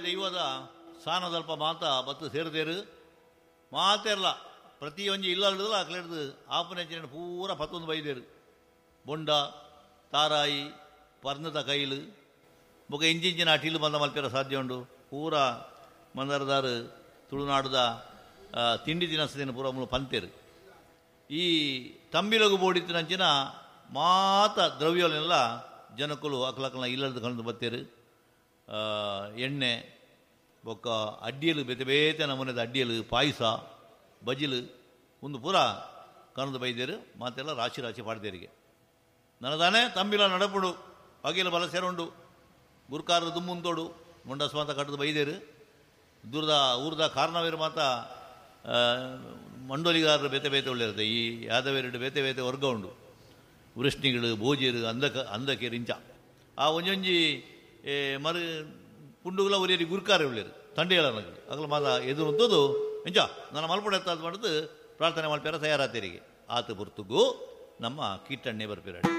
ದೈವದ ಸಾನದಲ್ಪ ಮಾತ ಬತ್ತು ಸೇರ್ದೇರು ಮಾತೆರ್ಲ ಪ್ರತಿಯೊಂಜಿ ಇಲ್ಲಲ್ದಲ ಅಕ್ಲೆಡ್ದು ಆಪುನೆಂಚಿನ ಪೂರ ಪತ್ತೊಂದು ಬೈದೇರು. ಬೊಂಡ ತಾರಾಯಿ ಪರ್ಣದ ಕೈಲು ಬೊಕ ಇಂಚಿಂಚಿನ ಅಟಿಲು ಬಂದ ಮಲ್ಪೆರ ಸಾಧ್ಯ ಉಂಡು. ಪೂರ ಮಂದರದಾರು ತುಳುನಾಡುದ ತಿಂಡಿ ತಿನಸದಿನ ಪೂರ ಮೂಲು ಪಂತೇರು. ಈ ತಂಬಿಲಗು ಬೋಡಿತ್ತಿನಂಚಿನ ಮಾತ ದ್ರವ್ಯಲೆಲ್ಲ ಜನಕುಲು ಅಕ್ಲಕ್ಲನ ಇಲ್ಲದ ಕಂಡು ಬತ್ತೇರು. ಎಣ್ಣೆ ಬೊಕ್ಕ ಅಡ್ಡಿಯಲು ಬೇತೆ ಬೇತೆ ನಮೂನೆದ ಅಡ್ಡಿಯಲು ಪಾಯಸ ಬಜಿಲು ಒಂದು ಪೂರ ಕನದು ಬೈದೇರು. ಮಾತೆಲ್ಲ ರಾಶಿ ರಾಶಿ ಪಾಡ್ದೇರಿಗೆ ನನದಾನೆ ತಂಬಿಲ ನಡಪುಡು ಅಗಿಲ ಬಲ ಸೇರುಂಡು ಗುರ್ಕಾರ ದುಮ್ಮುಂತೋಡು ಮುಂಡಸ್ ಮಾತ ಕಟ್ಟದು ಬೈದೇರು. ದೂರದ ಊರ್ದ ಕಾರಣವೇರು ಮಾತ ಮಂಡೋಲಿಗಾರರು ಬೇತೆ ಬೇತೆ ಒಳ್ಳೆಯಿರುತ್ತೆ. ಈ ಯಾದವೇರುಡು ಬೇತೆ ಬೇತೆ ವರ್ಗ ಉಂಡು. ವೃಷ್ಣಿಗಳು ಭೋಜರು ಅಂಧಕೇರು ಇಂಚ ಆ ಒಂಜೊಂಜಿ ಮರು ಪುಂಡುಗುಲ ಒರಿಯರಿ ಗುರುಕಾರ ಉಳ್ಳೇರು ತಂಡೆಗಳ ಅಗಲ ಮಾತ ಎದುರುಂತದ್ದು ಇಂಚ ನನ್ನ ಮಲ್ಪಡೆ ಎತ್ತಾದ ಮಾಡಿದ್ದು ಪ್ರಾರ್ಥನೆ ಮಲ್ಪೇರ ತಯಾರಾತೇರಿಗೆ ಆತ ಪುರ್ತುಗು ನಮ್ಮ ಕೀಟಣ್ಣೆ ಬರ್ಪಿರಾಡಿ.